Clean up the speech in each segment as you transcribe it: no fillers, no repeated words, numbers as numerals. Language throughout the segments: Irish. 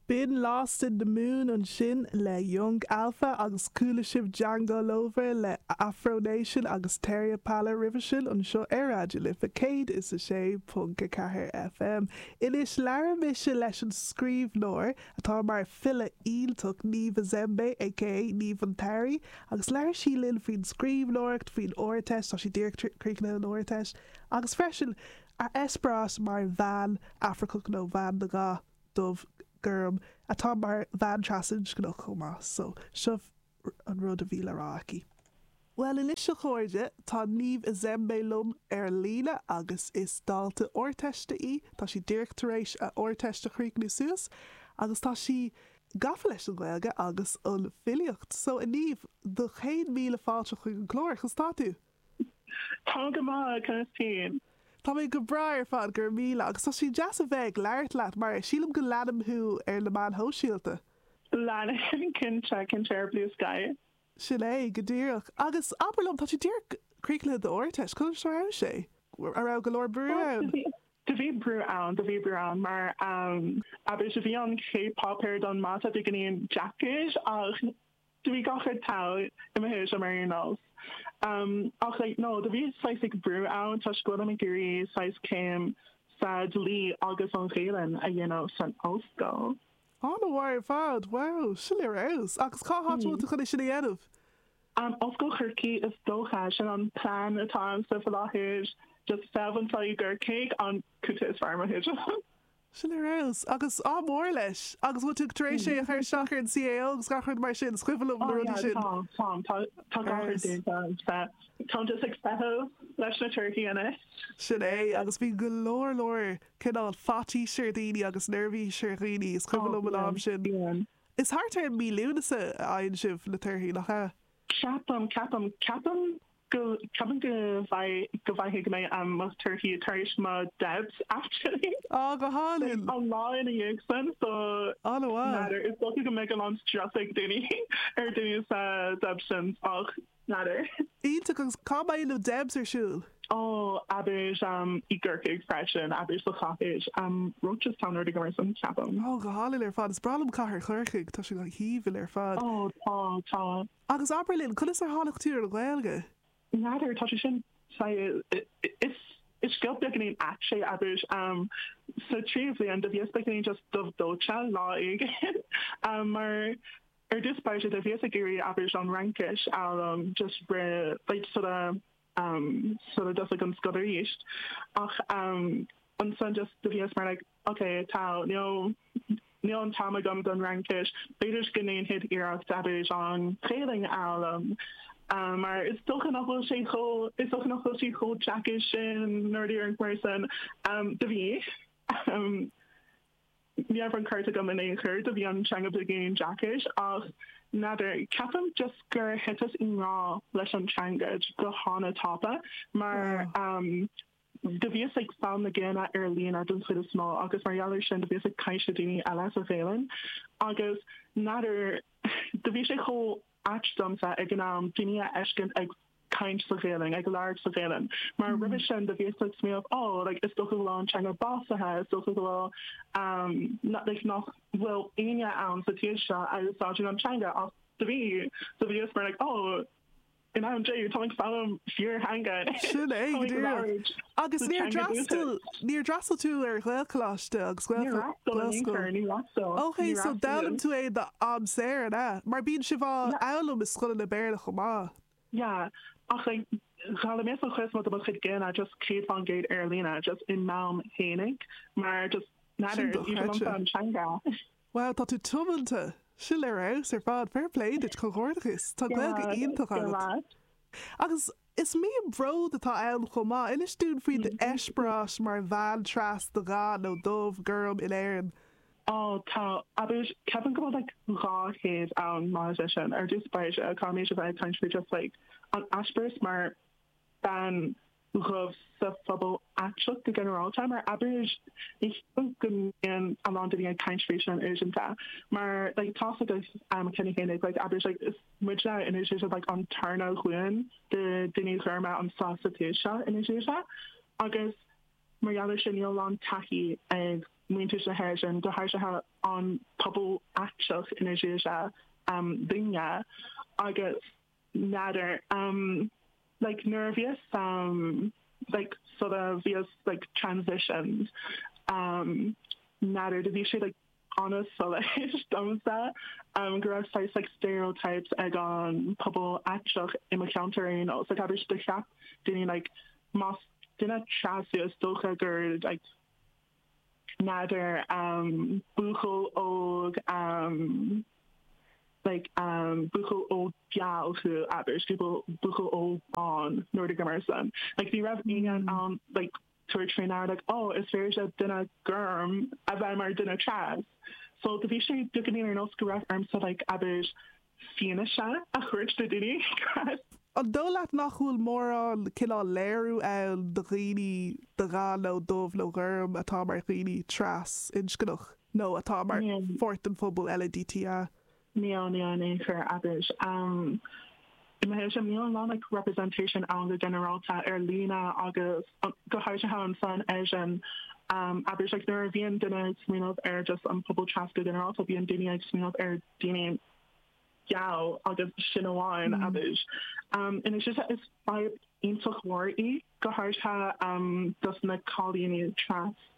B'in Lost in the Moon ansin le Young Alpha agus chuala sibh Django Lover le Afro Nation agus Terry Apala roimhe sin anseo ar Raidió Life 106.4 FM. Anois labhair mise leis an scríbhneoir atá mar file iontach Niamh Ezembe aka Niamh an tSamhraidh agus labhair sí linn faoin scríbhneoireacht, faoin Ardteist, tá sí díreach críochnaithe an Ardteist, agus freisin a eispéireas mar bhean Afracach nó bhean de dhath dubh, gorm, atá mar bhean trasinscneach chomh maith. So, seo an rud a bhí le rá aici. Bhuel anois a chairde, tá Niamh Ezembe liom ar an líne agus is dalta Ardteiste í, tá sí díreach tar éis a Ardteist a chríochnú suas agus tá sí gafa leis an Ghaeilge agus an filíocht. So a Niamh, do chéad míle fáilte chuig an chlár, conas tá tú? Tá go maith, conas féin? Tá mé go breá ar fad, go raibh míle, agus tá sé deas a bheith ag labhairt leat mar sílim go leanaim thú ar na meáin shóisialta. Leanaim, cinnte, cinnte ar Bluesky. Sin é, go díreach. Agus abair liom, tá tú díreach críochnaithe d'Ardteist, conas a raibh sé? An raibh go leor brú ann? Do bhí brú ann, do bhí brú ann mar abair do bhí an chéad páipéar don mata beagáinín deacair ach do bhí gach rud togha i mo thuairim ar aon nós. Ach like no, do bhí saghas like brú ann toisc go bhfuilim ag iarraidh saghas céim sa dlí agus an Ghaelainn a dhéanamh san ollscoil. An-mhaith ar fad! Wow, sin ar fheabhas! Agus cá háit a bhfuil tú chun é sin a dhéanamh? Ollscoil Chorcaí is dócha, sin an plean atá agamsa faoi láthair, just feitheamh anseo i gCorcaigh an cúpla is fearr i mo thuairim. Sin ar fheabhas. Agus ádh mór leis! Agus bhfuil tú tar éis é a chur isteach ar an CAO agus gach rud mar sin? Is cuimhin liom na Oh rudaí yeah, sin. tá, tá, tá, tá Ar gach rud fheabhas. déanta agamsa. Táim just ag feitheamh leis na torthaí anois. Sin é, agus bíonn go leor leor cineál faitís ar dhaoine agus neirbhís ar dhaoine, is cuimhin Oh liom an am bíonn, sin. bíonn. Is thart ar mí Lúnasa a fhaigheann sibh na torthaí, nach ea? Ceapaim, ceapaim, ceapaim go, ceapaim go bhfaigh, go bhfaighidh mé mo thorthaí tar éis mo debs actually. Á, go hálainn! An lá ina dhiaidh sin, so An-mhaith. n'fheadar, is dócha go mbeidh a lán strus ag daoine, ar daoine sa debs sin ach N'fheadar. Iontach, agus cá mbeidh na Debs ar siúl? Ó, abair, i gCorcaigh freisin, abair sa chathair, Rochestown nó rud éigin mar sin, ceapaim. Ó, go hálainn ar fad. Is breá liom cathair Chorcaigh, tá sé go haoibhinn ar fad. Ó, tá, tá. Agus abair linn, conas ar tháinig tú ar an Ghaeilge? N'fheadar, tá sé sin, is, is scéal beagáinín ait é, abair, sa tríú bhliain, do bhíos beagáinín just dubh dóite lá éigin, mar, Ar dtús báire do bhíos ag iarraidh abair an Fhraincis a fhoghlaim just roimh like sula um sula dtosaigh an scoil arís ach um ansan just do bhíos mar like ok tá níl níl an t-am agam don Fhraincis b'fhéidir go ndéanfaidh iarracht abair an Ghaelainn a fhoghlaim um mar is dócha nach bhfuil sé chomh is dócha nach bhfuil sí chomh deacair sin nó rud éigin mar sin um do bhí um Ní raibh an ceart agam in aon chor, do bhí an teanga beagáinín deacair ach n'fheadar, ceapaim just gur thiteas i ngrá leis an teanga go hana-tapa mar do bhíos ag foghlaim na Gaelainne ar líne den chuid is mó agus mar gheall ar sin do bhíos ag caint le daoine eile sa Ghaelainn agus n'fheadar, do bhí sé chomh ait domsa ag an am daoine a fheiscint ag caint sa Ghaelainn, ag labhairt sa Ghaelainn. Mar roimhe sin do bhíos ag smaoineamh oh like is dócha go bhfuil an teanga básaithe, is dócha go bhfuil um like nach bhfuil éinne ann sa tír seo a úsáideann an teanga ach do bhí, do bhíos mar like oh in ainm Dé táim ag foghlaim fíortheanga anois, Sin é, táim go ag díreach. labhairt Agus sa níor teanga d'fhreastail, dúchais. níor d'fhreastail tú ar Ghaelcholáiste agus Níor fhreastail in aon Gaelscoil? chor, níor fhreastail, Ok, níor so fhreastail. d'fhoghlaim tú é d'am saor, an ea? Mar bíonn sibh á Yeah. fhoghlaim i scoileanna Béarla chomh maith. Yeah, ach like d'fhoghlaimíos an chuid is mó de mo chuid Gaeilge just 100% ar líne, just i m'am fhéinig, mar just Sin n'fheadar, is aoibhinn liomsa dochreidte. an teanga. Wow, tá tú tiomanta! Sin ar fheabhas ar fad, fair play duit, comhghairdeachas! Tá Gaeilge Yeah, iontach go agat. raibh. Agus is mian bród atá ann chomh maith. Inis dúinn faoi d'eispéireas mar bhean tras de dhath nó dubh, gorm in Éirinn. Ó, tá, abair, ceapaim go bhfuil like 200 ann maidir leis sin. Ar dtús báire, caithfimid a bheith ag caint faoi just like an eispéireas mar bean dhubh sa phobal aiteach go ginearálta, mar abair, ní cheapaim go mbíonn a lán daoine ag caint faoi sin uaireanta, mar like tá's agat cheana féin like abair like is muidne in úsáid like an tarna ghlúin de daoine gorma anseo sa tír seo in úsáid agus mar gheall ar sin níl a lán taithí ag. muintir na hÉireann, go háirithe an pobal aiteach ina dhiaidh duine agus n'fheadar like nuair a bhíos like sula bhíos like transitioned n'fheadar do bhí sé like an-soiléir domsa go raibh saghas like stereotypes ag an pobal aiteach i mo cheantar ar aon nós like abair do cheap daoine like más duine tras thú is dócha gur like n'fheadar buachaill óg like buachaill óg geal thú abair buachaill óg bán nó rud mar sin like ní raibh éinne in ann like tabhairt faoi ndeara like oh is féidir le duine gorm a bheith mar duine tras so do bhí sé beagáinín ar nós go raibh ormsa like abair fianaise a thabhairt do daoine. An dóigh leat nach bhfuil mórán cineál léiriú ann do dhaoine de dhath nó dubh nó gorm atá mar dhaoine tras-inscneach nó atá mar pháirt den phobal LADTA? Níl, níl in aon chor, abair. I mo thuairim, níl a lán like representation ann go ginearálta ar líne agus go háirithe ansan eisean, abair, like nuair a bhíonn duine ag smaoineamh ar just an pobal tras go ginearálta, bíonn daoine ag smaoineamh ar daoine geal agus sin amháin, abair. Ina dhiaidh is fadhb iontach mhór í, go háirithe dos na cailíní tras,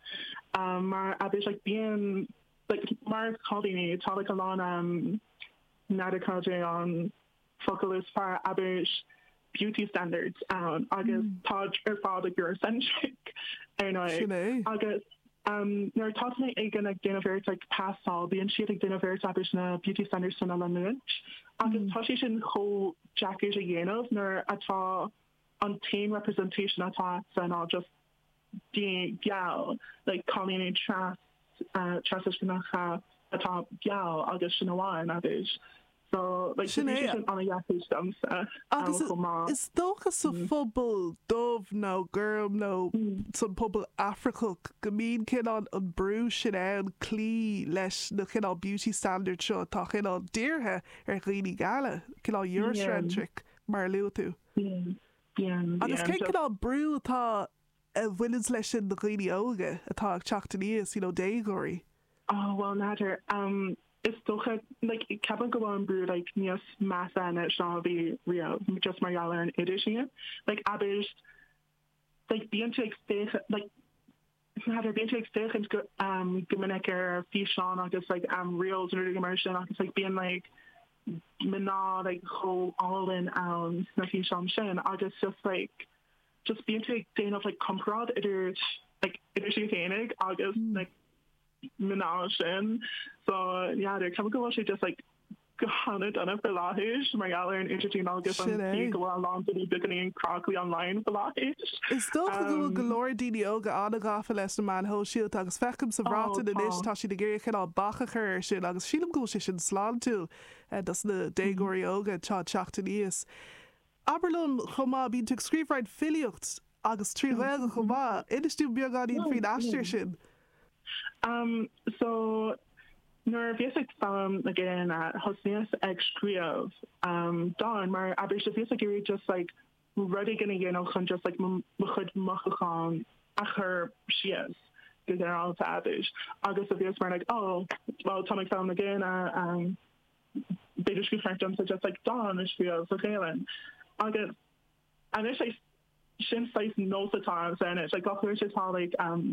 mar abair like bíonn like mar chailíní tá like a lán n'fheadar cad é an focal is fearr abair beauty standards ann agus táid ar fad like Eurocentric ar ndóigh agus nuair atá duine éigin ag déanamh iarracht like pasáil bíonn siad ag déanamh iarracht abair na beauty standards sin a leanúint agus tá sé sin chomh deacair a dhéanamh nuair atá an t-aon representation atá agatsa ná just daoine geal, like cailíní tras, trasinscneacha atá geal agus sin amháin, abair. So, like, Sin bhí sé é. sin an-dheacair domsa Agus chomh maith. is dócha sa phobal dubh nó gorm nó san pobal Afracach go mbíonn cineál an brú sin ann cloí leis na cineál beauty standards seo atá cineál dírithe ar dhaoine geala, cineál Eurocentric mar a luaigh tú. Bíonn, Agus bíonn. cén cineál brú atá a bhaineanns leis sin do dhaoine óga atá ag teacht aníos, you know, déagóirí? Oh, bhuel, n'fheadar. Um, is dócha, like, ceapaim go bhfuil an brú, like, níos measa anois ná a bhí riamh, just mar gheall ar an idirlíon. Like, abair, like, bíonn tú ag féachaint, like, N'fheadar, bíonn tú ag féachaint go go minic ar físeáin agus like reels nó rudaí mar sin agus like bíonn like mná like chomh álainn ann sna físeáin sin agus just like just bíonn tú ag déanamh like comparáid idir like idir tú féinig agus like mná sin so n'fheadar, ceapaim go bhfuil sé just like go han-dona faoi láthair mar gheall ar an idirlíon agus an Sin tslí é. go bhfuil a lán daoine beagáinín cráite online faoi láthair. Is dócha go bhfuil go leor daoine óga an-ghafa leis na meáin shóisialta agus feicim sa Ó, Bhreatain anois tá. tá siad ag iarraidh cineál bac a chur air sin agus sílim go bhfuil sé sin sláintiúil dos na déagóirí óga atá ag teacht aníos. Abair liom chomh maith, bíonn tú ag scríobh roinnt filíocht agus trí Ghaeilge chomh maith. Inis dúinn beagáinín faoin aistear sin. Um so nuair a bhíos ag foghlaim na Gaelainne thosnaíos ag scríobh um dán mar abair so bhíos ag iarraidh just like rud éigin a dhéanamh chun just like mo chuid mothúchán a chur síos go ginearálta abair agus so bhíos mar like oh well táim ag foghlaim na Gaelainne um b'fhéidir gur cheart domsa just like dán a scríobh sa Ghaelainn agus anois like sin saghas nós atá a'msa anois like gach uair atá like um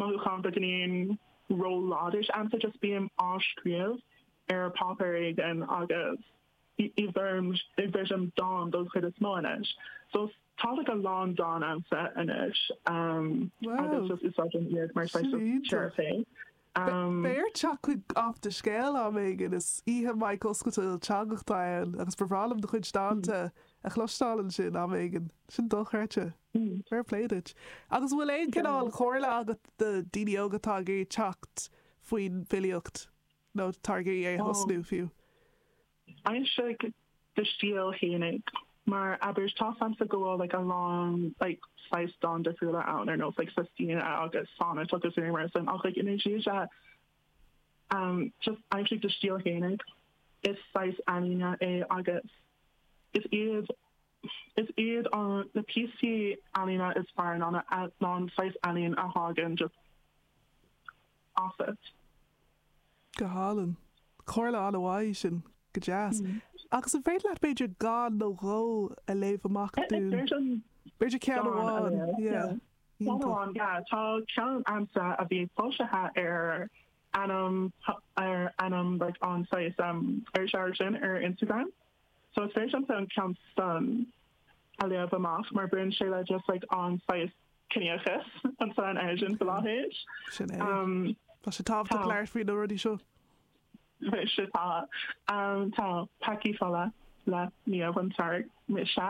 mothúchán beagáinín ró-láidir a'msa just bím á scríobh ar páipéar éigin agus i bhfoirm i bhfoirm dán don chuid is mó anois so tá like a lán dán a'msa anois um agus Wow just úsáidim iad mar sin saghas of iontach. teiripí. Beidh ort teacht chuig Off do Scéal am éigin, is oíche mic oscailte ilteangach atá ann agus ba bhreá liom do chuid dánta a chloisteáil ansin am éigin. Sin dochreidte. Fair play duit. Agus an bhfuil aon cineál comhairle agat do daoine óga atá ag iarraidh teacht faoin bhfilíocht nó atá ag iarraidh é a thosnú fiú? Aimsigh do stíl fhéinig mar abair tá 's a'msa go bhfuil like a lán like saghas dán difriúla ann ar nós like sestina agus sonnet agus rudaí mar sin ach like ina dhiaidh um just aimsigh do stíl fhéinig is saghas ealaíne é agus is iad is iad an na píosaí ealaíne is fearr ná na ná an saghas ealaín a thagann just. asat. Go hálainn. Comhairle an-mhaith í sin. Go deas. Agus an féidir leat b'fhéidir dán nó dhó a léamh amach dúinn? B'fhéidir ceann amháin, yeah. Ceann amháin, yeah. Tá ceann a'msa a bhí foilsithe ar ainm ar ainm like an saghas um iriseoir sin ar Instagram. So is féidir liomsa an ceann san a léamh amach mar baineann sé le just like an saghas ciníochas anso in Éirinn faoi láthair. Sin é. Tá sé tábhachtach labhairt faoi na rudaí seo. Mhuise tá. Tá Peacaí Fola le Niamh an tSearc mise.